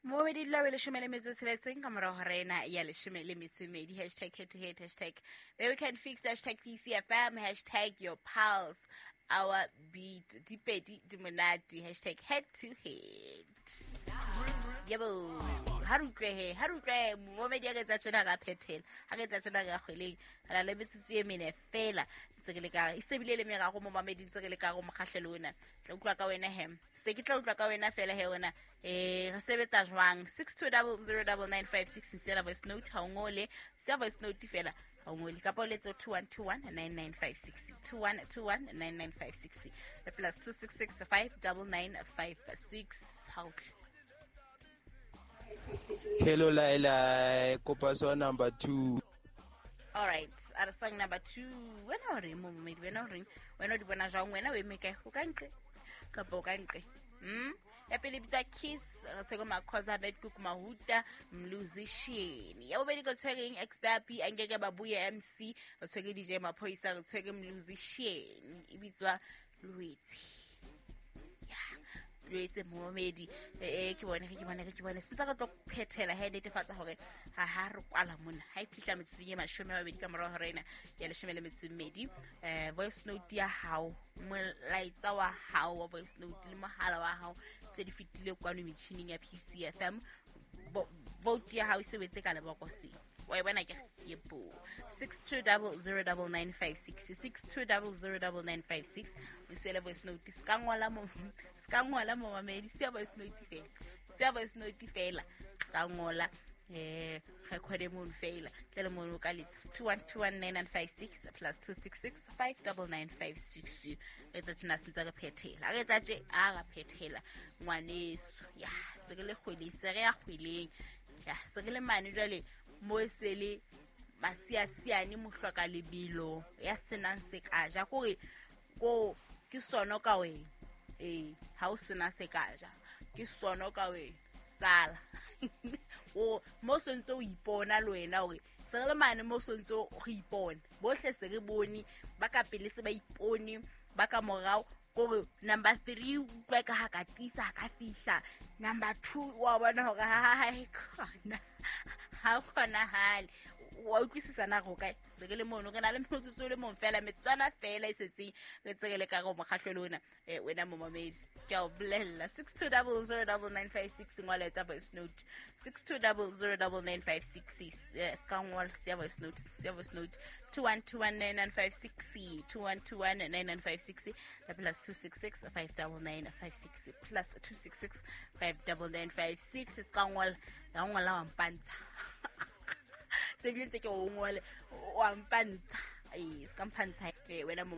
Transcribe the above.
Momedi dula be 16 ka morago ga ena ya 12. Hashtag head to head, hashtag the weekend fix, hashtag PCFM, hashtag your pulse, our beat. Dipedi di monate, hashtag head to head. Yebo, ha re utlwe he, ha re utlwe momedi a ka etsa tjena ka phethela, ha ka etsa tjena ka kgweleng. Re na le metsotso e mene fela ntse ke le ka e sebile le merago mo mamedi ntse ke le ka go mokgahlelo ona. Tla utlwa ka wena he. Se ke tla utlwa ka wena fela he wena. Re sebetsa jwang? 62009956 siela voice note ha o ngole, sia voice note fela ha o ngole, kapa o letse 21219956, 21219956 le plus 266 59956. Ha o tle. Hello Laila, kopa song number 2. All right, a re song number 2. Wena o reng momedi? Wena o reng? Wena o di bona jwang? Wena o eme kae? O ka nqe kapa o ka nqe? Ya pele bitswa Kiss, re tshwere Makhoza Bedcook Mahuta Musician. Ya bobedi ko tshwereng Xdapi Angeke Babuye MC, re tshwere DJ Maphoyisa, re tshwere Musician e bitswa Lwetse. Ya Lwetse momedi, ke bone ke bone ke bone sentse re tlo phethela he netefatsa hore ha ha re kwala mona ha e fihla metsotsong e 20 ka morago hora ena ya 12. Voice note ya hao, molaetsa wa hao wa voice note le mohala wa hao se di fetile kwano metjhining ya PCFM. Vote ya hao e sebetse ka lebokoseng, wa e bona ke yebo. 62009956, 62009956, o siele voice note. Se ka ngola mo, se ka ngola momamedi, sia voice note fela, sia voice note fela, se ka ngola, recorde mono fela tle le mono ka letsa 21219956 plus 266 59956. Re tsa tjena sentse re phethela, re tsa tje a ra phethela ngwaneso. Ya se re le kgweleng, se re ya kgweleng, ya se re le mane jwale mo e se le masiasiane mohloka lebelo ya senang se ka ja kore ko ke sono ka wena. Ha o sena se ka ja ke sono ka wena, sala o mo sontse o ipona le wena hore se re le mane mo sontse re ipona bohle, se re bone ba ka pele, se ba ipone ba ka morao kore number 3 utlwa ka ha ka tisa ha ka fihla number 2 wa bona hore ha e khona ha kgonahale, wa utlwisisa na go kae? Se re le mono re na le metsotso le mong fela, metsotswana fela e setseng re tse re le ka go mokgahlelo ona. Wena momamedi ke a o bolella, 62009956, ngola, etsa voice note, 62009956. Se ka ngola, siya voice note, siya voice note, 21219956, 21219956 le plus 266 59956, plus 266 59956. Se ka ngola, ka ngola wa mpantsha se bile ntse ke o ngole wa mpantsha, se ka mpantsha, wena momamedi.